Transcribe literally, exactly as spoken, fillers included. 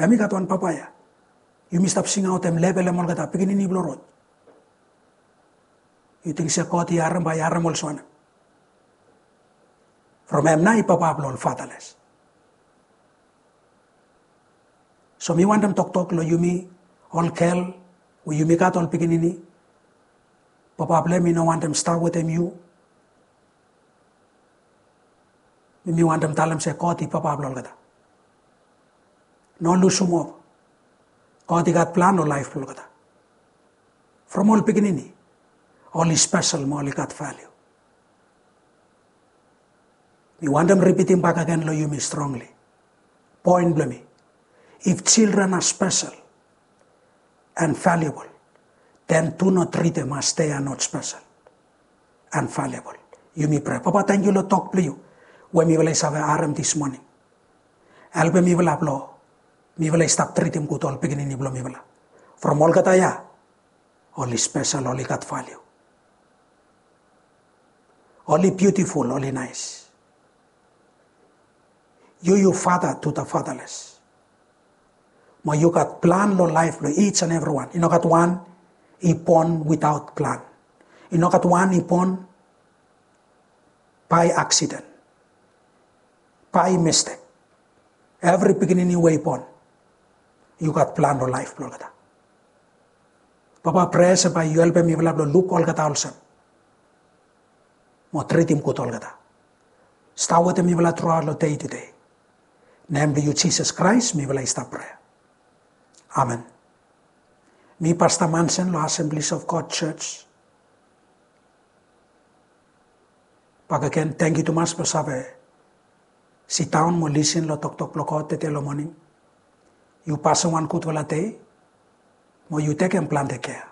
Em i gat wan papa ya. Yumi stap singaotem level em olgeta pikinini blong rod. Yu ting se God i harem, bae i harem olsem wanem? From em nao i papa blong ol fatherless. So mi wantem toktok long yumi ol gel we yumi gat ol pikinini. Papa blong em i no wantem stap wetem yu. Mi wantem talem se God i papa blong olgeta. No lusum hope. God i gat plan long laef blong olgeta. From ol pikinini, oli spesel mo oli gat valiu. Mi wantem ripitim bakegen long yumi strongli. Poen blong mi, if children are special and valuable, then do not treat them as they are not special and valuable. Yumi prea. Papa, tangkiu long tok blong yu we mifala i save harem this morning. Helpem mifala blong mifala i stap tritim gud ol pikinini blong mifala. From olgeta ya, oli spesel, oli gat valiu. Oli biutiful, oli naes. Yu, yu father to the fatherless. Mo yu gat plan long laef blong each and everyone. I no gat wan i bon without plan. I no gat wan i bon by accident, by mistake. Evri pikinini we i bon, yu gat plan long laef blong olgeta. Papa, prea se bae yu helpem mifala blong luk olgeta olsem mo tritim gud olgeta. Stap wetem mifala truaot long dei tude. Nem blong yu Jisas Kraes mifala i stap prea. Amen. Mi Pasta Mansen long Assemblies of God Church. Bakegen, tangkiu tumas blong save sidaon mo lisin long toktok blong God tede long moning. Yu pasem wan gudfala dei mo yu tekem plante kea.